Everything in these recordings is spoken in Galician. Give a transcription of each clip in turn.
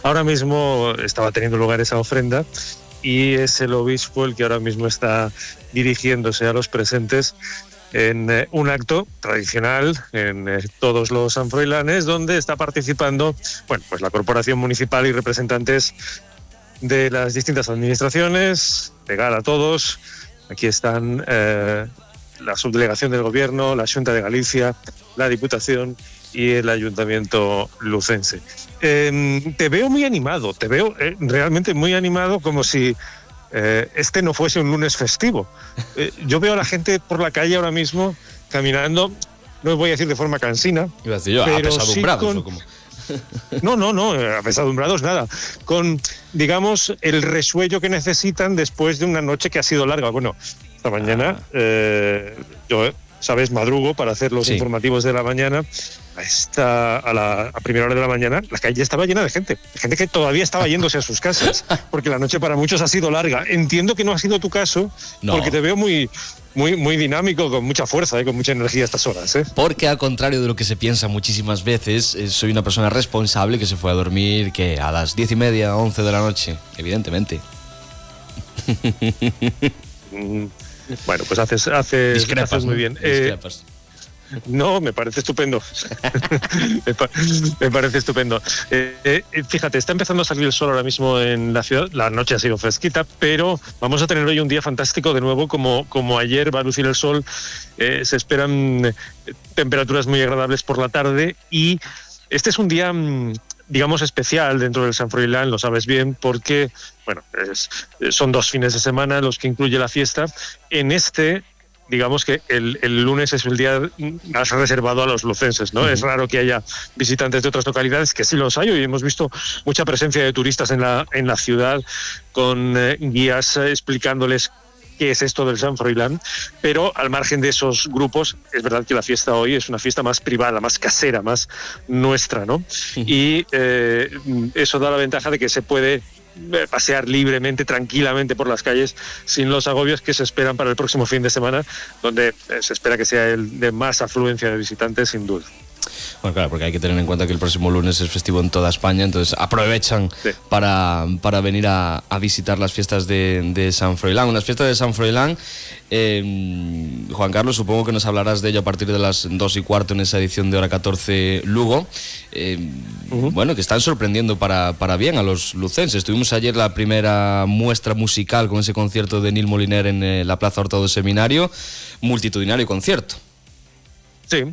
ahora mismo estaba teniendo lugar esa ofrenda y es el obispo el que ahora mismo está dirigiéndose a los presentes en un acto tradicional en todos los sanfroilanes, donde está participando, bueno, pues la corporación municipal y representantes de las distintas administraciones. Legal a todos. Aquí están la subdelegación del gobierno, la Xunta de Galicia, la Diputación y el Ayuntamiento lucense. Te veo muy animado, te veo realmente muy animado, como si este no fuese un lunes festivo. Yo veo a la gente por la calle ahora mismo caminando, no voy a decir de forma cansina, iba a decir yo, pero apesadumbrados, sí ¿o cómo? No, apesadumbrados nada, con, digamos, el resuello que necesitan después de una noche que ha sido larga. Bueno, esta mañana yo, sabes, madrugo para hacer los informativos de la mañana. A primera hora de la mañana la calle estaba llena de gente que todavía estaba yéndose a sus casas, porque la noche para muchos ha sido larga. Entiendo que no ha sido tu caso, porque te veo muy dinámico, con mucha fuerza, con mucha energía a estas horas. Porque al contrario de lo que se piensa muchísimas veces, soy una persona responsable que se fue a dormir que a las 10:30, 11 de la noche, evidentemente. Bueno, pues haces muy bien. Discrepas. No, me parece estupendo. Me parece estupendo. Fíjate, está empezando a salir el sol ahora mismo en la ciudad. La noche ha sido fresquita, pero vamos a tener hoy un día fantástico de nuevo. Como ayer va a lucir el sol, se esperan temperaturas muy agradables por la tarde, y este es un día, digamos, especial dentro del San Froilán, lo sabes bien, porque bueno, son 2 fines de semana los que incluye la fiesta. En digamos que el lunes es el día más reservado a los lucenses, ¿no? Es raro que haya visitantes de otras localidades, que sí los hay. Hoy hemos visto mucha presencia de turistas en la ciudad, con guías explicándoles qué es esto del San Froilán, pero al margen de esos grupos, es verdad que la fiesta hoy es una fiesta más privada, más casera, más nuestra, ¿no? Y eso da la ventaja de que se puede pasear libremente, tranquilamente por las calles, sin los agobios que se esperan para el próximo fin de semana, donde se espera que sea el de más afluencia de visitantes, sin duda. Bueno, claro, porque hay que tener en cuenta que el próximo lunes es festivo en toda España, entonces aprovechan para venir a visitar las fiestas de San Froilán. Unas fiestas de San Froilán, Juan Carlos, supongo que nos hablarás de ello a partir de las 2:15 en esa edición de Hora 14 Lugo. Bueno, que están sorprendiendo para bien a los lucenses. Tuvimos ayer la primera muestra musical con ese concierto de Nil Moliner en la Plaza Horta do Seminario, multitudinario concierto. Sí,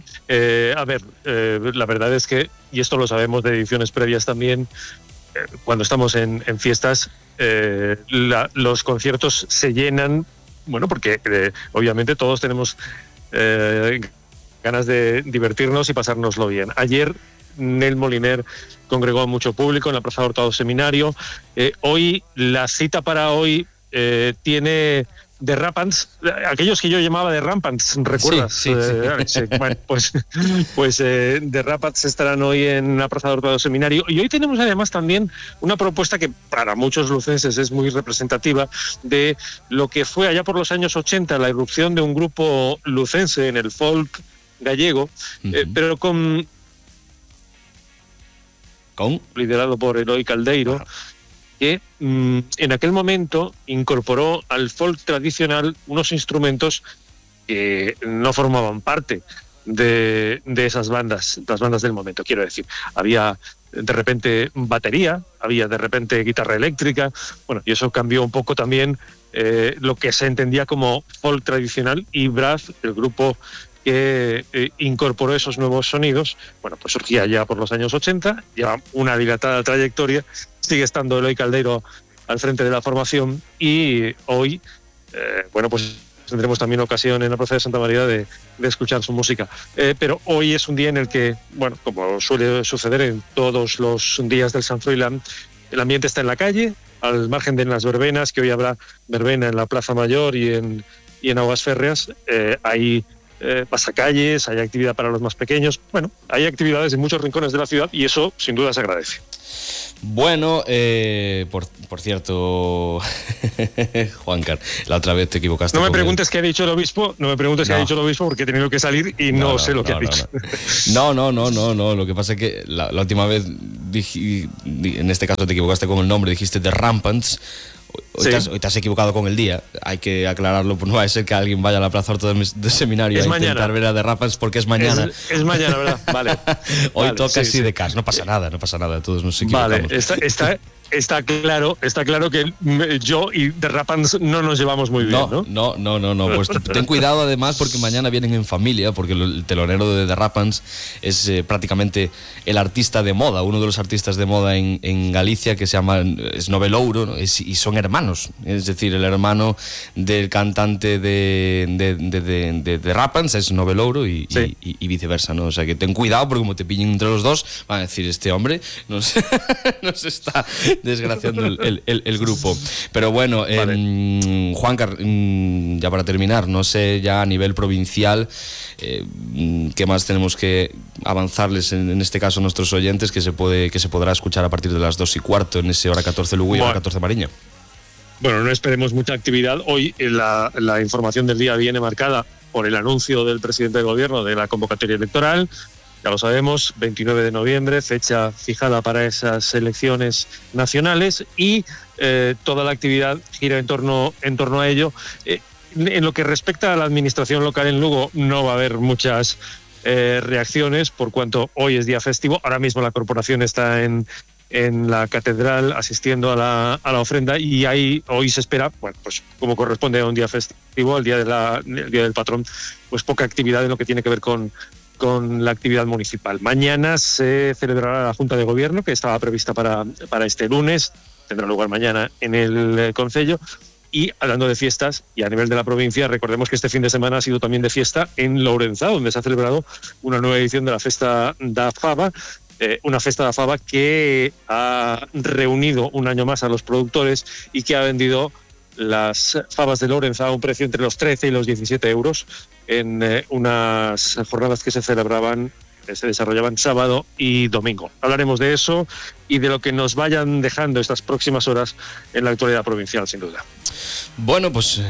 a ver, la verdad es que, y esto lo sabemos de ediciones previas también, cuando estamos en fiestas, los conciertos se llenan, bueno, porque obviamente todos tenemos ganas de divertirnos y pasárnoslo bien. Ayer Nel Moliner congregó a mucho público en la Plaza Horta do Seminario. Hoy, la cita para hoy tiene The Rampants, aquellos que yo llamaba The Rampants, ¿recuerdas? Sí. Bueno, pues The Rampants estarán hoy en la Plaza Horta do Seminario, y hoy tenemos además también una propuesta que para muchos lucenses es muy representativa de lo que fue allá por los años 80 la irrupción de un grupo lucense en el folk gallego, pero liderado por Eloi Caldeiro, que en aquel momento incorporó al folk tradicional unos instrumentos que no formaban parte de esas bandas, las bandas del momento, quiero decir. Había de repente batería, había de repente guitarra eléctrica, bueno, y eso cambió un poco también lo que se entendía como folk tradicional, y Brass, el grupo que incorporó esos nuevos sonidos, bueno, pues surgía ya por los años 80, lleva una dilatada trayectoria, sigue estando Eloi Caldeiro al frente de la formación, y hoy, bueno, pues tendremos también ocasión en la Plaza de Santa María de escuchar su música. Pero hoy es un día en el que, bueno, como suele suceder en todos los días del San Froilán, el ambiente está en la calle, al margen de las verbenas, que hoy habrá verbena en la Plaza Mayor y en Aguas Férreas. Hay pasacalles, hay actividad para los más pequeños. Bueno, hay actividades en muchos rincones de la ciudad, y eso sin duda se agradece. Bueno, por cierto, Juancar, la otra vez te equivocaste. No me preguntes qué ha dicho el obispo, qué ha dicho el obispo, porque he tenido que salir y no sé lo que ha dicho. No, lo que pasa es que la última vez en este caso te equivocaste con el nombre, dijiste The Rampants. Hoy te has equivocado con el día. Hay que aclararlo, pues no va a ser que alguien vaya a la Plaza Orto de Seminario a intentar ver a The Rampants porque es mañana. Es mañana, ¿verdad? Vale. Hoy toca así de cas. No pasa nada, todos nos equivocamos. Vale, está claro que yo y The Rampants no nos llevamos muy bien, ¿no? No. Pues ten cuidado además porque mañana vienen en familia, porque el telonero de The Rampants es prácticamente el artista de moda, uno de los artistas de moda en Galicia, que se llama Novelouro, ¿no? Y son hermanos, es decir, el hermano del cantante de The Rampants es Novelouro y viceversa, ¿no? O sea que ten cuidado porque como te pillen entre los dos, van a decir, este hombre nos está desgraciando el grupo. Pero bueno, vale. Juancar, ya para terminar, no sé ya a nivel provincial qué más tenemos que avanzarles en este caso a nuestros oyentes, que se podrá escuchar a partir de las 2:15 en ese hora 14 Lugo y hora 14 Mariña. Bueno, no esperemos mucha actividad. Hoy la información del día viene marcada por el anuncio del presidente del gobierno de la convocatoria electoral. Ya lo sabemos, 29 de noviembre, fecha fijada para esas elecciones nacionales, y toda la actividad gira en torno a ello. En lo que respecta a la administración local en Lugo, no va a haber muchas reacciones, por cuanto hoy es día festivo. Ahora mismo la corporación está en la catedral asistiendo a la ofrenda, y hoy se espera, bueno, pues como corresponde a un día festivo, el día del patrón, pues poca actividad en lo que tiene que ver con la actividad municipal. Mañana se celebrará la Junta de Gobierno, que estaba prevista para este lunes, tendrá lugar mañana en el Concello. Y hablando de fiestas, y a nivel de la provincia, recordemos que este fin de semana ha sido también de fiesta en Lourenzá, donde se ha celebrado una nueva edición de la Festa da Faba, una Festa da Faba que ha reunido un año más a los productores y que ha vendido las fabas de Lourenzá a un precio entre los 13 y los 17 euros en unas jornadas que se desarrollaban sábado y domingo. Hablaremos de eso y de lo que nos vayan dejando estas próximas horas en la actualidad provincial, sin duda. Bueno, pues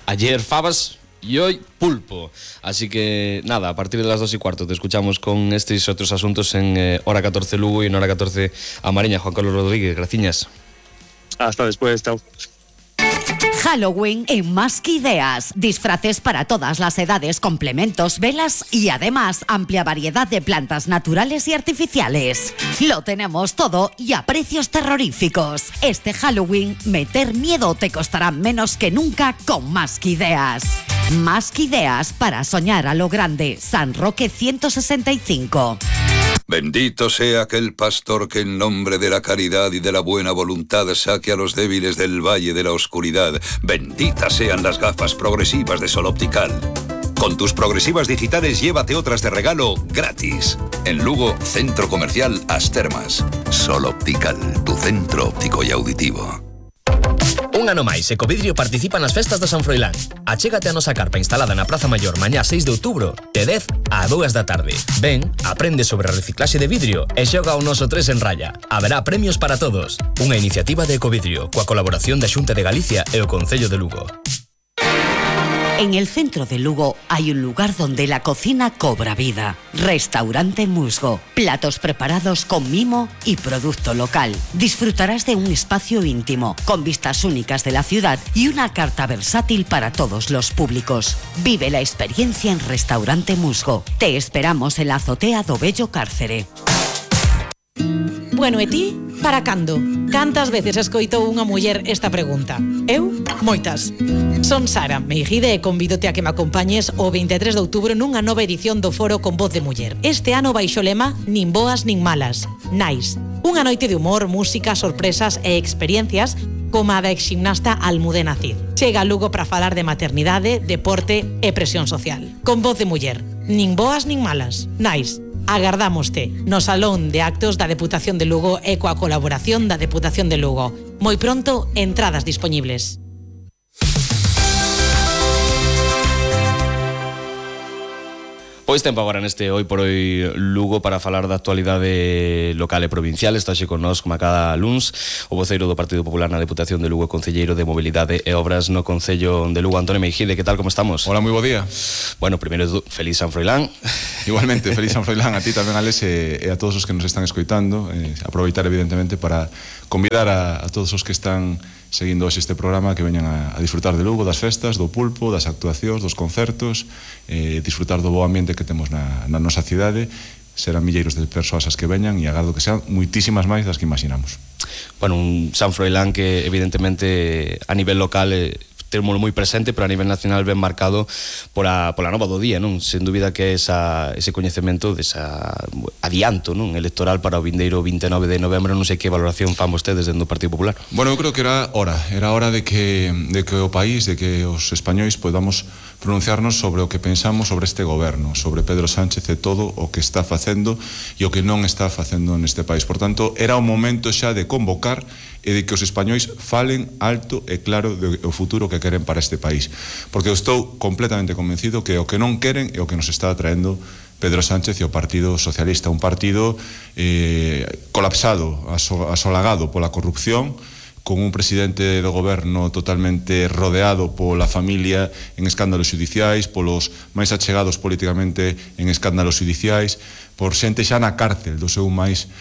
ayer fabas y hoy pulpo. Así que nada, a partir de las 2:15 te escuchamos con estos y otros asuntos en hora 14 Lugo y en hora 14 a Mariña. Juan Carlos Rodríguez, gracias. Hasta después, chao. Halloween en Más que Ideas. Disfraces para todas las edades, complementos, velas y además amplia variedad de plantas naturales y artificiales. Lo tenemos todo y a precios terroríficos. Este Halloween, meter miedo te costará menos que nunca con Más que Ideas. Más que Ideas para soñar a lo grande. San Roque 165. Bendito sea aquel pastor que en nombre de la caridad y de la buena voluntad saque a los débiles del valle de la oscuridad. Benditas sean las gafas progresivas de Sol Optical. Con tus progresivas digitales llévate otras de regalo gratis. En Lugo, Centro Comercial As Termas. Sol Optical, tu centro óptico y auditivo. Un ano máis, Ecovidrio participa nas festas de San Froilán. Achégate a nosa carpa instalada na Praza Maior mañá 6 de outubro, de 10 a 2 da tarde. Ven, aprende sobre reciclaxe de vidrio e xoga o noso 3 en raya. Haberá premios para todos. Unha iniciativa de Ecovidrio, coa colaboración da Xunta de Galicia e o Concello de Lugo. En el centro de Lugo hay un lugar donde la cocina cobra vida. Restaurante Musgo. Platos preparados con mimo y producto local. Disfrutarás de un espacio íntimo, con vistas únicas de la ciudad y una carta versátil para todos los públicos. Vive la experiencia en Restaurante Musgo. Te esperamos en la azotea do Bello Cárcere. Bueno, e ti, para cando? Cantas veces escoitou unha muller esta pregunta? Eu, moitas. Son Sara Meijide e convídote a que me acompañes o 23 de outubro nunha nova edición do Foro con Voz de Muller. Este ano baixo lema Nin boas nin malas, Nice. Unha noite de humor, música, sorpresas e experiencias como a da exgimnasta Almudena Cid. Chega a Lugo para falar de maternidade, deporte e presión social. Con Voz de Muller. Nin boas nin malas, Nice. Agardámoste no Salón de Actos da Deputación de Lugo e coa colaboración da Deputación de Lugo. Moi pronto, entradas dispoñibles. Pois tempo agora neste Hoy por Hoy Lugo para falar da actualidade local e provincial. Está xe con nós, como a cada luns, o voceiro do Partido Popular na Deputación de Lugo, concelleiro de Mobilidade e Obras no Concello de Lugo, Antonio Meijide. Que tal, como estamos? Hola, moi bo día. Bueno, primeiro, feliz San Froilán. Igualmente, feliz San Froilán a ti tamén, Alex, e a todos os que nos están escoitando. Aproveitar, evidentemente, para convidar a todos os que están seguindo hoxe este programa que veñan a disfrutar de Lugo, das festas, do pulpo, das actuacións, dos concertos, disfrutar do bo ambiente que temos na nosa cidade. Serán milleiros de persoas as que veñan e agardo que sean moitísimas máis das que imaginamos. Bueno, un San Froilán que evidentemente a nivel local temos moi presente, pero a nivel nacional ben marcado pola nova do día, non? Sen dúbida que ese coñecemento desa adianto, non, electoral para o vindeiro 29 de novembro. Non sei que valoración fan vostedes dentro do Partido Popular. Bueno, eu creo que era hora de que o país, de que os españois podamos pronunciarnos sobre o que pensamos sobre este goberno, sobre Pedro Sánchez e todo o que está facendo e o que non está facendo neste país. Por tanto, era o momento xa de convocar e de que os españois falen alto e claro do futuro que queren para este país, porque eu estou completamente convencido que o que non queren é o que nos está traendo Pedro Sánchez e o Partido Socialista, un partido colapsado, asolagado pola corrupción, con un presidente do goberno totalmente rodeado pola familia en escándalos xudiciais, polos máis achegados políticamente en escándalos xudiciais, por xente xa na cárcel do seu máis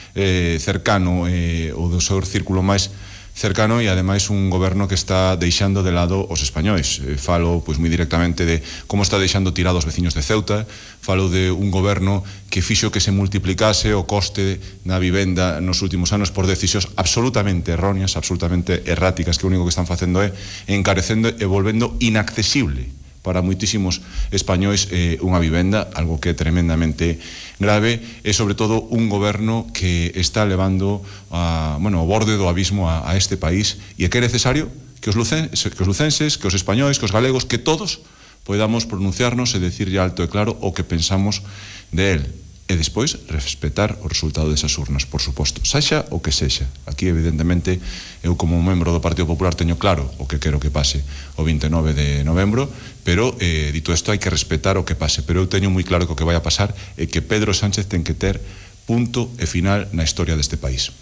cercano ou do seu círculo máis cercano, e ademais un goberno que está deixando de lado os españois. Falo pois moi directamente de como está deixando tirados os veciños de Ceuta, falo de un goberno que fixo que se multiplicase o coste na vivenda nos últimos anos por decisións absolutamente erróneas, absolutamente erráticas, que o único que están facendo é encarecendo e volvendo inaccesible para moitísimos españois unha vivenda, algo que é tremendamente grave, e sobre todo un goberno que está levando ao borde do abismo a este país, e que é necesario que os lucenses, que os españois, que os galegos, que todos podamos pronunciarnos e decirlle alto e claro o que pensamos de él. E despois respetar o resultado desas urnas, por suposto, sexa o que sexa. Aquí, evidentemente, eu como membro do Partido Popular teño claro o que quero que pase o 29 de novembro, pero, dito isto, hai que respetar o que pase. Pero eu teño moi claro que o que vai a pasar é que Pedro Sánchez ten que ter punto e final na historia deste país.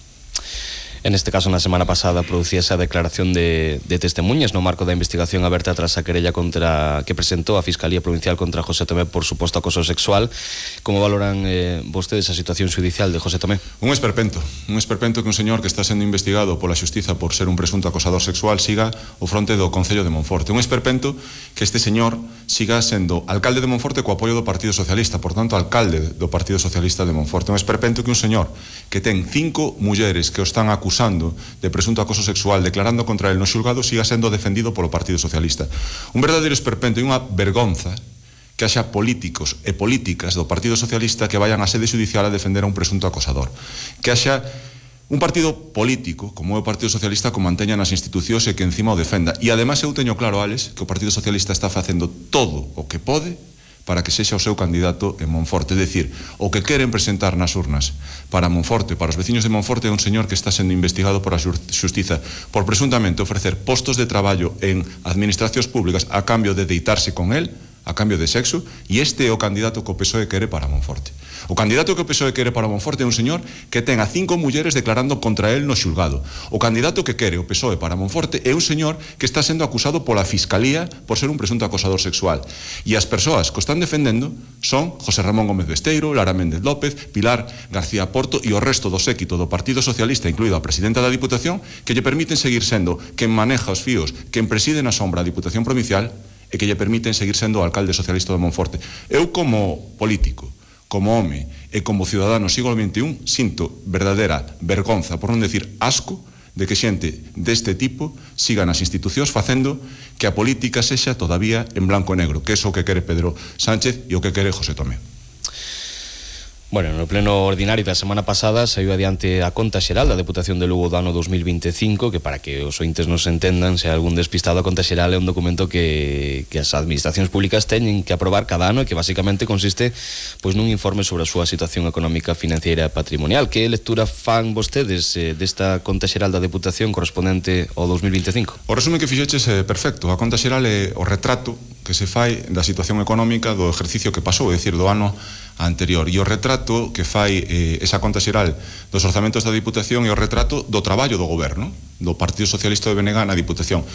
En este caso, na semana pasada producíase a declaración de testemunhas no marco da investigación aberta tras a querella que presentou a Fiscalía Provincial contra José Tomé por suposto acoso sexual. Como valoran vostedes a situación judicial de José Tomé? Un esperpento que un señor que está sendo investigado pola xustiza por ser un presunto acosador sexual siga o fronte do Concello de Monforte. Un esperpento que este señor siga sendo alcalde de Monforte co apoio do Partido Socialista, por tanto, alcalde do Partido Socialista de Monforte. Un esperpento que un señor que ten 5 mulleres que o están acusando de presunto acoso sexual, declarando contra el no xulgado, siga sendo defendido polo Partido Socialista. Un verdadeiro esperpento e unha vergonza que haxa políticos e políticas do Partido Socialista que vayan á sede judicial a defender a un presunto acosador. Que haxa un partido político, como é o Partido Socialista, que manteña nas institucións e que encima o defenda. E ademais eu teño claro, Alex, que o Partido Socialista está facendo todo o que pode para que sexa o seu candidato en Monforte. É dicir, o que queren presentar nas urnas para Monforte, para os veciños de Monforte, é un señor que está sendo investigado por a xustiza por presuntamente ofrecer postos de traballo en administracións públicas a cambio de deitarse con él, a cambio de sexo, e este é o candidato que o PSOE quere para Monforte. O candidato que o PSOE quere para Monforte é un señor que ten a 5 mulleres declarando contra él no xulgado. O candidato que quere o PSOE para Monforte é un señor que está sendo acusado pola Fiscalía por ser un presunto acosador sexual. E as persoas que o están defendendo son José Ramón Gómez Besteiro, Lara Méndez López, Pilar García Porto e o resto do séquito do Partido Socialista, incluído a presidenta da Diputación, que lle permiten seguir sendo quen maneja os fíos, quen preside na sombra a Diputación Provincial e que lle permiten seguir sendo o alcalde socialista de Monforte. Eu, como político, como home e como cidadano siglo XXI, sinto verdadeira vergonza, por non decir asco, de que xente deste tipo siga nas institucións facendo que a política sexa todavía en blanco e negro, que é o que quere Pedro Sánchez e o que quere José Tomé. Bueno, no pleno ordinario da semana pasada saiu adiante a conta xeral da Deputación de Lugo do ano 2025, que para que os ointes nos entendan, se algún despistado, a conta xeral é un documento que as administracións públicas teñen que aprobar cada ano e que basicamente consiste pois nun informe sobre a súa situación económica, financiera e patrimonial. Que lectura fan vostedes desta conta xeral da Deputación correspondente ao 2025? O resumen que fixeches é perfecto. A conta xeral é o retrato que se fai da situación económica do exercicio que pasou, é dicir, do ano anterior. E o retrato que fai esa conta xeral dos orzamentos da Diputación é o retrato do traballo do goberno, do Partido Socialista de BNG na Diputación.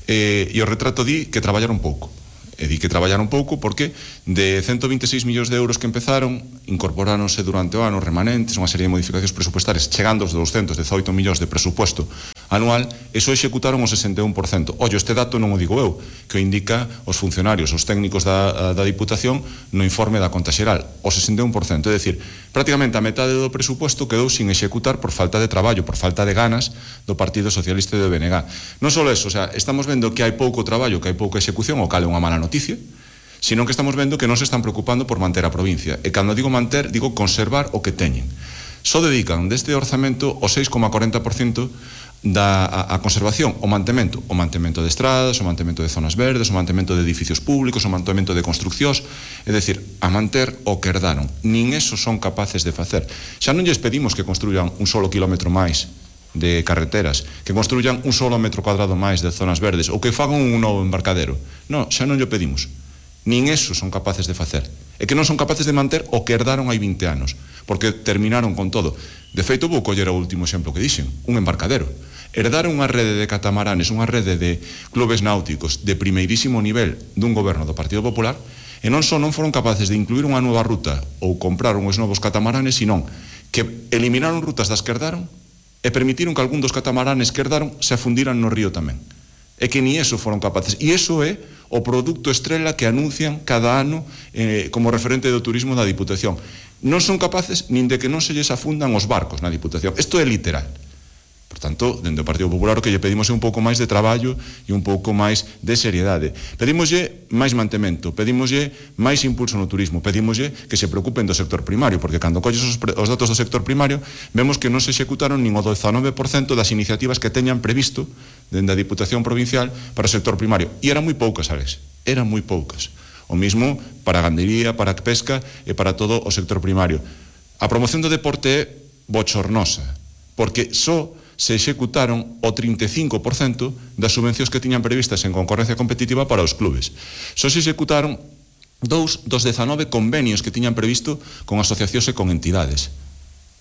E o retrato di que traballaron pouco. E di que traballaron pouco porque de 126 millóns de euros que empezaron, incorporáronse durante o ano remanentes, unha serie de modificacións presupuestarias, chegando aos 218 millóns de presupuesto anual, e só executaron o 61%. Ollo, este dato non o digo eu, que o indica os funcionarios, os técnicos da Diputación no informe da conta xeral, o 61%. É dicir, prácticamente a metade do presupuesto quedou sin executar por falta de traballo, por falta de ganas do Partido Socialista de BNG. Non só eso, o sea, estamos vendo que hai pouco traballo, que hai pouca execución, o cal é unha mala noticia, sino que estamos vendo que non se están preocupando por manter a provincia. E cando digo manter, digo conservar o que teñen. Só dedican deste orzamento o 6,40% a conservación, o mantemento de estradas, o mantemento de zonas verdes, o mantemento de edificios públicos, o mantemento de construccións, é dicir, a manter o que herdaron. Nin eso son capaces de facer. Xa non lles pedimos que construyan un solo kilómetro máis de carreteras, que construyan un solo metro cuadrado máis de zonas verdes, ou que fagan un novo embarcadero. Non, xa non llo pedimos. Nin eso son capaces de facer. É que non son capaces de manter o que herdaron hai 20 anos, porque terminaron con todo. De feito, vou coller o último exemplo que dixen, un embarcadero. Herdaron unha rede de catamaranes, unha rede de clubes náuticos de primeirísimo nivel dun goberno do Partido Popular, e non só non foron capaces de incluir unha nova ruta ou comprar uns novos catamaranes, sino que eliminaron rutas das que herdaron e permitiron que algún dos catamaranes que herdaron se afundiran no río tamén. É que ni eso foron capaces. E iso é o produto estrela que anuncian cada ano como referente do turismo da Diputación. Non son capaces nin de que non se lles afundan os barcos na Diputación. Isto é literal. Por tanto, dentro do Partido Popular o que lle pedimos é un pouco máis de traballo e un pouco máis de seriedade. Pedimoslle máis mantemento, pedimoslle máis impulso no turismo, pedimoslle que se preocupen do sector primario, porque cando colles os datos do sector primario vemos que non se executaron nin o 19% das iniciativas que teñan previsto dende a Diputación Provincial para o sector primario. E eran moi poucas, Alex, eran moi poucas. O mismo para a gandería, para a pesca e para todo o sector primario. A promoción do deporte é bochornosa, porque só se executaron o 35% das subvencións que tiñan previstas en concorrencia competitiva para os clubes. Só se executaron 2 dos 19 convenios que tiñan previsto con asociacións e con entidades.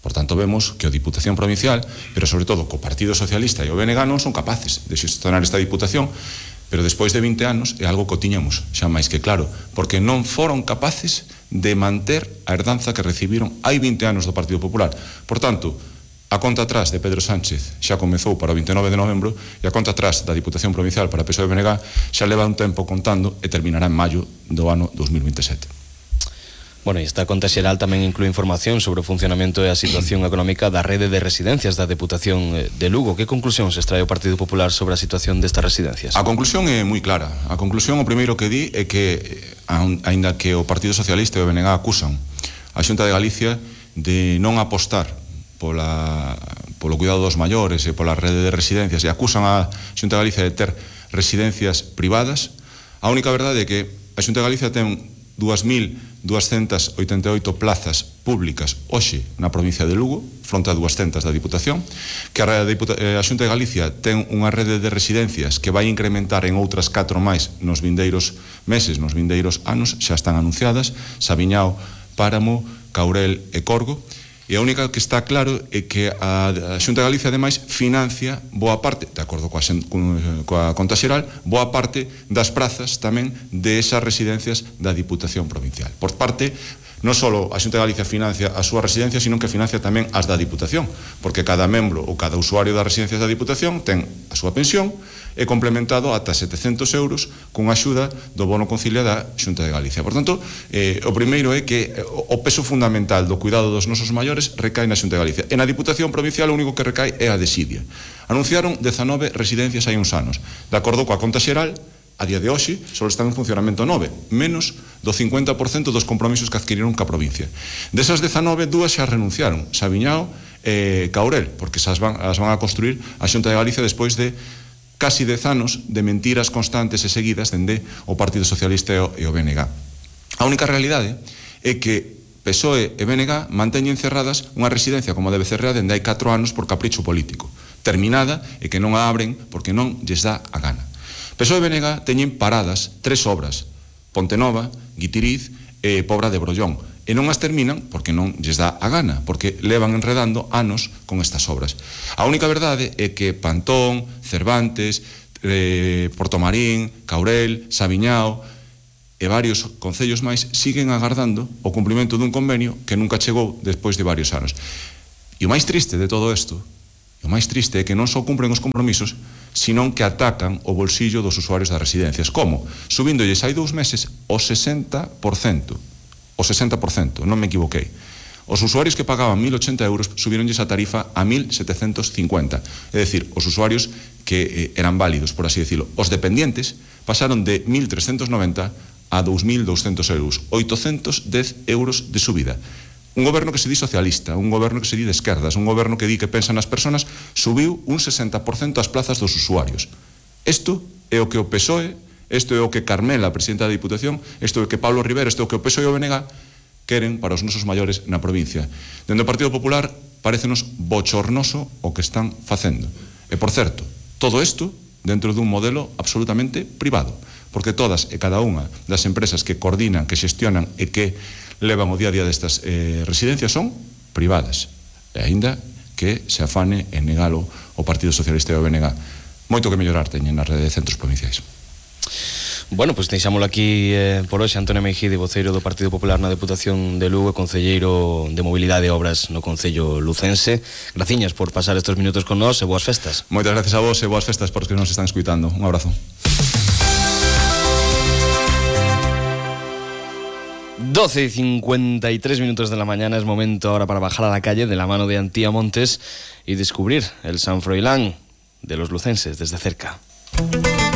Por tanto, vemos que a Diputación Provincial, pero sobre todo co Partido Socialista e o BNG non son capaces de xestionar esta Diputación, pero despois de 20 anos é algo que tiñamos xa máis que claro, porque non foron capaces de manter a herdanza que recibiron hai 20 anos do Partido Popular. Por tanto, a conta atrás de Pedro Sánchez xa comezou para o 29 de novembro e a conta atrás da Diputación Provincial para PSOE e BNG xa leva un tempo contando e terminará en maio do ano 2027. Bueno, e esta conta xeral tamén inclúe información sobre o funcionamento e a situación económica da rede de residencias da Deputación de Lugo. Que conclusións extrae o Partido Popular sobre a situación destas residencias? A conclusión é moi clara. A conclusión, o primeiro que di é que, aínda que o Partido Socialista e o BNG acusan a Xunta de Galicia de non apostar polo cuidado dos maiores e pola rede de residencias e acusan a Xunta de Galicia de ter residencias privadas, a única verdade é que a Xunta de Galicia ten 2.288 plazas públicas hoxe na provincia de Lugo, fronte a 200 da Diputación, que a Xunta de Galicia ten unha rede de residencias que vai incrementar en outras 4 máis nos vindeiros meses, nos vindeiros anos, xa están anunciadas: Sabiñao, Páramo, Caurel e Corgo. E a única que está claro é que a Xunta de Galicia, ademais, financia boa parte, de acordo coa conta xeral, boa parte das prazas tamén de esas residencias da Diputación Provincial. Por parte, non só a Xunta de Galicia financia as súas residencias, sino que financia tamén as da Diputación, porque cada membro ou cada usuario das residencias da Diputación ten a súa pensión e complementado ata 700 euros con axuda do bono concilia da Xunta de Galicia. Por tanto, o primeiro é que o peso fundamental do cuidado dos nosos maiores recae na Xunta de Galicia. E na Diputación Provincial o único que recae é a desidia. Anunciaron 19 residencias hai uns anos. De acordo coa conta xeral, a día de hoxe só están en funcionamento 9, menos do 50% dos compromisos que adquiriron ca provincia. Desas 19, 2 xa renunciaron, Sabiñao e Caurel, porque as van a construir a Xunta de Galicia despois de casi 10 anos de mentiras constantes e seguidas dende o Partido Socialista e o BNG. A única realidade é que PSOE e BNG manteñen cerradas unha residencia como a de Becerrea dende hai 4 anos por capricho político, terminada e que non a abren porque non lles dá a gana. PSOE e BNG teñen paradas 3 obras Pontenova, Guitiriz e Pobra de Brollón. E non as terminan porque non lles dá a gana, porque levan enredando anos con estas obras. A única verdade é que Pantón, Cervantes, Portomarín, Caurel, Sabiñao e varios concellos máis siguen agardando o cumprimento dun convenio que nunca chegou despois de varios anos. E o máis triste de todo isto, o máis triste é que non só cumpren os compromisos, senón que atacan o bolsillo dos usuarios das residencias. Como? Subíndolles hai 2 meses o 60%. O 60%, non me equivoquei. Os usuarios que pagaban 1.080 euros subíronlles a tarifa a 1.750. É dicir, os usuarios que eran válidos, por así decirlo. Os dependientes pasaron de 1.390 a 2.200 euros. 810 euros de subida. Un goberno que se di socialista, un goberno que se di de esquerdas, un goberno que di que pensa nas persoas, subiu un 60% as plazas dos usuarios. Isto é o que o PSOE, isto é o que Carmela, a presidenta da Diputación, isto é o que Pablo Rivera, isto é o que o PSOE e o BNG queren para os nosos maiores na provincia. Dende o Partido Popular parecenos bochornoso o que están facendo. E, por certo, todo isto dentro dun modelo absolutamente privado, porque todas e cada unha das empresas que coordinan, que xestionan e que levan o día a día destas residencias son privadas, e aínda que se afane en negalo o Partido Socialista e o BNG. Moito que mellorar teñen na rede de centros provinciais. Bueno, pois deixámolo aquí por hoxe. Antonio Meijide, voceiro do Partido Popular na Deputación de Lugo, concelleiro de Mobilidade e Obras no Concello Lucense. Graciñas por pasar estes minutos con nós e boas festas. Moitas gracias a vos e boas festas por os que nos están escuitando. Un abrazo. 12:53 minutos de la mañana, es momento ahora para bajar a la calle de la mano de Antía Montes y descubrir el San Froilán de los lucenses desde cerca.